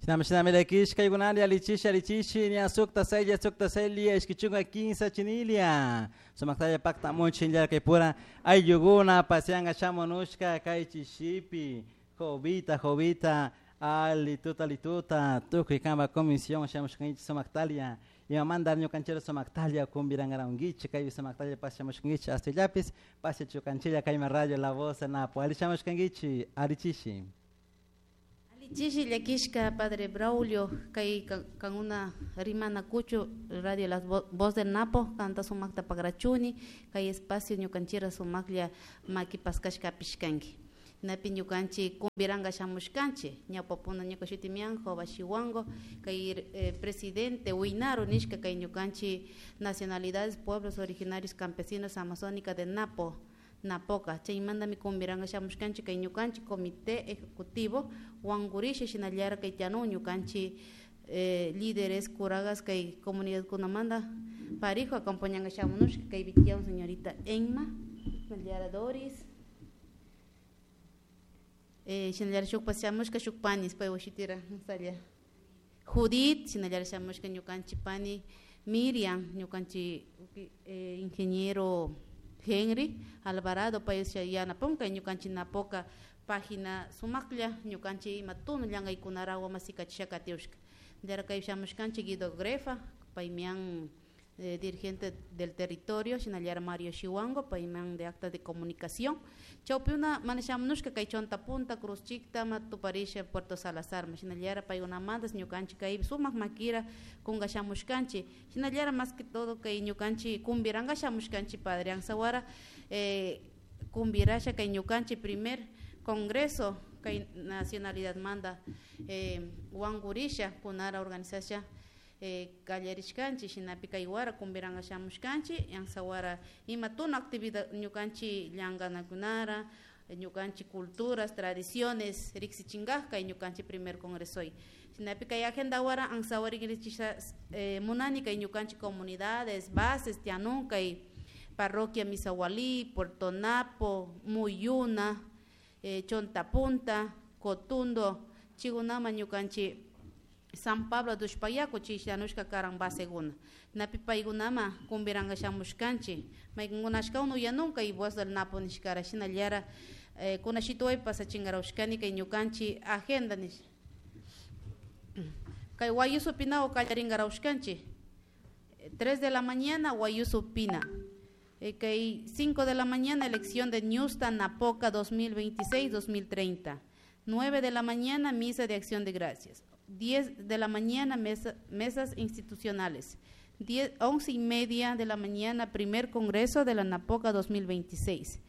Shinami lakishkaykunalla alichishi alichishi ña sukta saylla sukta saylla ishki chunka kinsa chinilia sumaktalla paktamunchik kay ayllukuna pasianga shamunushka kay chishipi jovita jovita alituta alituta tukuy kanpa comisión shamushkankichik sumaktalia imamanta ñukanchik sumaktalia kumbirankarankichik kaypi sumaktalla pashamushkankichik hastillapis pashachukanchilla kayman Radio La Voz Napo ali shamushkankichik alichishi. Chishi llakishka padre Braulio kay kankuna rimana kuchu Radio La Voz del Napo kanta sumakta pagrachuni kay espacio ñukanchira sumaklla maki paskashka apishkanki napi ñukanchik kumbiranga shamushkanchik ñawpapuna ñuka shutimian Jova Shiwango kay presidente Winaro nishka kay ñukanchik nacionalidades pueblos originarios campesinos amazónica de Napo Napoca. Chaymantami kumbiranga shamushkanchik kay ñukanchik comité ejecutivo wankurisha shinallara kay tianun ñukanchik líderes curagas kay comunidad kunamanta parijo acompañanga shamunushka kaypi tiyan señorita Emma shinallara Doris shinallara shukpas shamushka shuk panis pay shutira salla Judith shinallara shamushka ñukanchik pani Miriam ñukanchik ingeniero Henry Alvarado pay yanapun kay ñukanchik Napoca página sumaklla ñukanchik ima tunu llankaykunarawa masikachisha katiushka yara kay shamushkanchik Guido Grefa paymian dirigente del territorio shinallara Mario Shiwango payman de acta de comunicación. Chawpiuna mana shamunushka kay Chonta Punta Cruz Chicta tuparisha Puerto Salazar shinallara paykunamantas ñukanchik kay sumak makira kunga shamushkanchik shinallara más que todo kay ñukanchik kumbiranga shamushkanchik padre Anzawara kumbirasha kay ñukanchik primer congreso kay nacionalidad manda wankurisha kunara organizasha kallarishkanchik shinapi kay wara kumbiranga shamushkanchik Anzawara ima tuna actividad ñukanchik llankanakunara ñukanchik culturas tradiciones riksichinkaj kay ñukanchik primer congresoy. Shinapi kay agenda wara Anzawara riksichisha munani kay ñukanchik comunidades bases tianun kay parroquia Misahualí, Puerto Napo, Muyuna, Chontapunta, Cotundo, chigunama ñukanchik San Pablo de Ushpayaco chishanushka karan baseguna. Napi paykunama kumbiranga shamushkanchik maykunkunashka uyanun kay Voz del Napo nishkara shinallara kunashituway pasachinkarawshkani kay ñukanchik agenda nish. Kay Guayuso Pina kallarinkarawshkanchik 3 de la mañana Guayuso Pina. Kay 5 de la mañana elección de Ñusta Napoca 2026-2030. 9 de la mañana misa de acción de gracias. 10 de la mañana mesas institucionales. 11:30 de la mañana primer congreso de la Napoca 2026.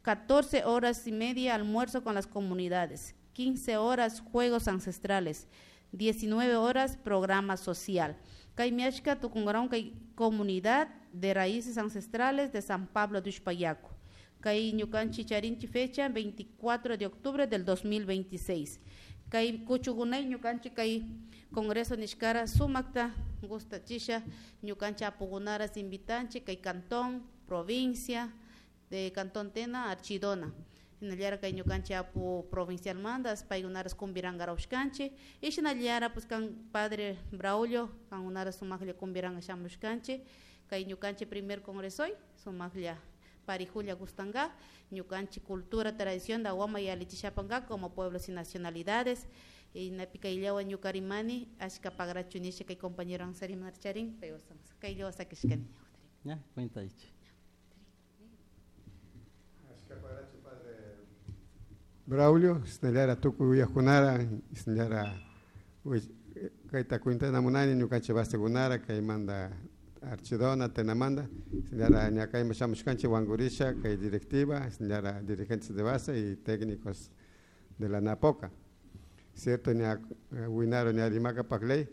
14 horas y media almuerzo con las comunidades. 15 horas juegos ancestrales. 19 horas programa social. Kay miashka tukungaron kay comunidad de raíces ancestrales de San Pablo de Ushpayaco. Kay ñukanchik charinchi fecha 24 de octubre del 2026. Kay kuchugunay ñukanchik kay congreso nishkara sumakta gustachisha ñukanchik apugunaras invitanchik kay cantón, provincia de Cantón Tena, Archidona. Shinallara kay ñukanchik apu provincial mandas paykunaras kumbirankarawshkanchik y shinallara pues kan padre Braulio kankunaras sumaklla kumbiranga shamushkanchik kay ñukanchik primer congresoy sumaklla parijulla gustanga ñukanchik cultura tradición da wama yalichishapanka como pueblos y nacionalidades y napi kayllawan ñukarimani ashka pagrachu nisha kay compañero Ansari charin pero kayllawa sakishkani. Ya, cuenta ichi. Ashka pagrachu padre Braulio, shinallara tukuy uyajkunara, shinallara kayta cuentana munani ñukanchik basekunara kaymanta Archidona, Tenamanda, shinallara ña kayman shamushkanchik wankurisha kay directiva, shinallara dirigentes de base y técnicos de la Napoca. Cierto, ña winaro ña rimaka pakley,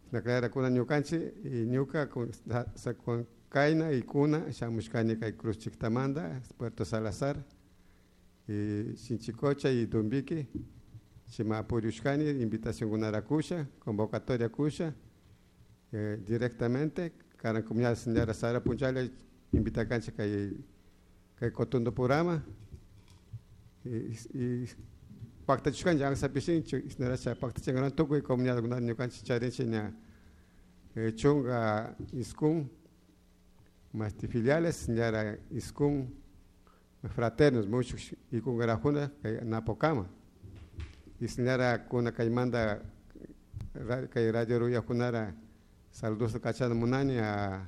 shinallara kuna ñukanchik y ñuka con, sa, con kayna y kuna shamushkani kay Cruz Chictamanda, Puerto Salazar, y Sinchicocha y Dumbique, Chimapuriushkani, invitación kunara kusha, convocatoria kusha, directamente, karan comunidad señora Sara Punchale, invita cancha kay Cotundo Purama, y Pactachushkanchik ansapishinchu isnaracha pactachinkaran tukuy comunidadkunata ñukanchik charinchik ña 19 masti filiales ñara 9 fraternos muchos ikungarajuna kay Napokama isnara kuna kaymanta kay radio ruyakunara saludos kachana munani a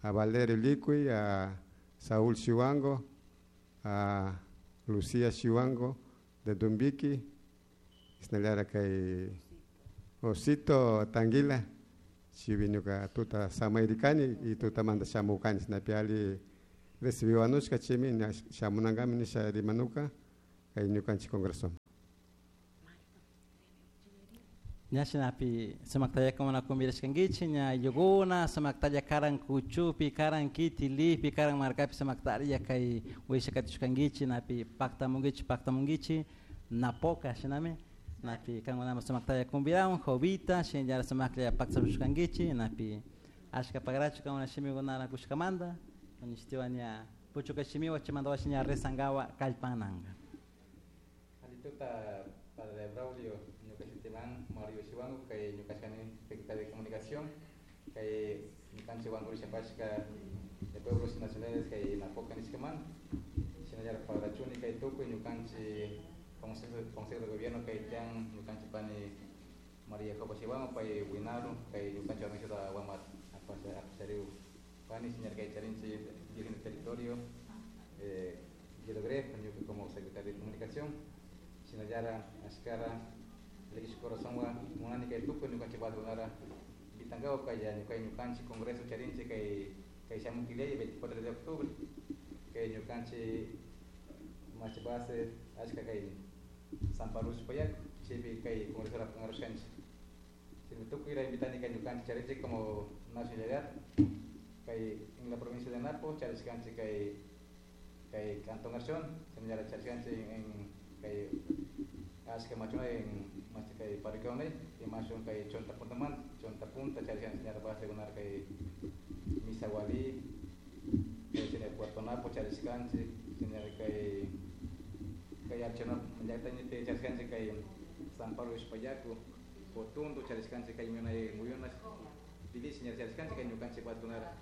Valerio Licuy, a Saúl Chihuango, a Lucía Chihuango de Dumbiqui, isnallara kay Osito Tanguila, chiviñuka tuta samayrikani y tuta manda shamukani sinapi ali recibiwanushka chimi shamunankami nisha rimanuka kay ñukanchik congreso. Ña shinapi sumaktalla kamuna kumbirashkankichik ña ayllukuna sumaktalla karan kuchupi karan kitilipi karan markapi sumaktalla kay wishakatishkankichik napi paktamunkichik Napoka shinami napi kankunama sumaktalla kumbirawan Jovita shinallara sumaklla paktamushkankichik napi ashka pagrachu kankuna shimikunara kushkamanta ñishtiwan ña puchuka shimiwan chaymanta washa ña rezankawa kallpananka. Alituta padre Braulio ñuka shutiman Mario Chihuango kay ñukashkani secretario de comunicación kay ñukanchik wankurishapashka de pueblos nacionales kay Napoca nishkaman shinallara pagrachuni kay tukuy ñukanchik consejo de gobierno kay tiyan ñukanchik pani María Jopa Chihuango pay winaru kay ñukanchik organizada wamat apashariw pani señor kay charinchik virgen del territorio Guido Gref ñuka como secretario de comunicación shinallara ashkara lekish corazonwa munani kay tukuy ñukanchik wasikunara invitankawa kay kay ñukanchik congreso charinchik kay kay shamun killay 24 de octubre kay ñukanchik machi base ashka kay San Pablo Ushpayaku chaypi kay congreso apankarushkanchik chaymi tukuyra invitani kay ñukanchik charinchik como nacionalidad kay en la provincia de Napo charishkanchik kay kay Cantón Archón shinallara charishkanchik en kay ashka machuna en machi kay parroquia y machun kay Chonta Punta man Chonta Punta charishkanchik señora base kunar kay Misahualí kay señor Puerto Napo charishkanchik señora kay kay Archona llaqtaynipi charishkanchik kay San Pablo Ushpayaku Potundo charishkanchik kay Munay Muyunas Pili señor charishkanchik kay ñukanchik wasikunara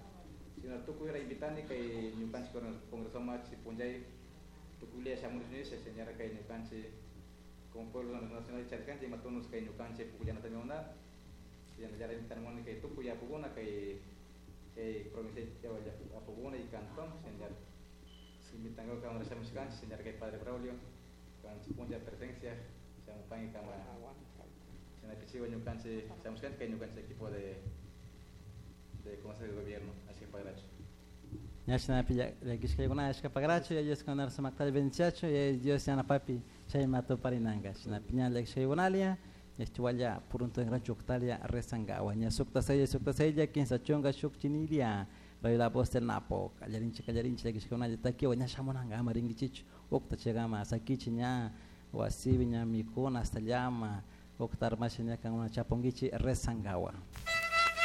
sino tukuyra invitani kay ñukanchik congreso machi punllay tukuylla shamush nisha señora kay ñukanchik como pueblo nacional charishkanchik imatunus kay ñukanchik pukllanata miuna shinallara invitanmuni kay tukuy apukuna kay kay provincia apukuna y cantón señor invitankawa kamara shamushkanchik señora kay padre Braulio kanchik punlla presencia shamupanki kama shinapichiwa ñukanchik shamushkanchik kay ñukanchik equipo de consejo de gobierno así que pagracho. Ña shinapi llakishkaykuna ashka pagracho ya Dios kunar sumaktalla bendiciacho ya Dios yanapapi chayma tuparinanka shinapi ña llakishkaykunalia ñashtiwalla purunto en chuktalia rezankawa ña sukta sella 30 shuk chinilia Radio La Voz del Napo kallarinchik kallarinchik llakishkaykunalla takiwa ña shamunanka ama rinkichichu ukta chaykama sakichi ña wasipi ña mikuna hasta llama ukta armasha ña kankuna chapunkichik rezankawa.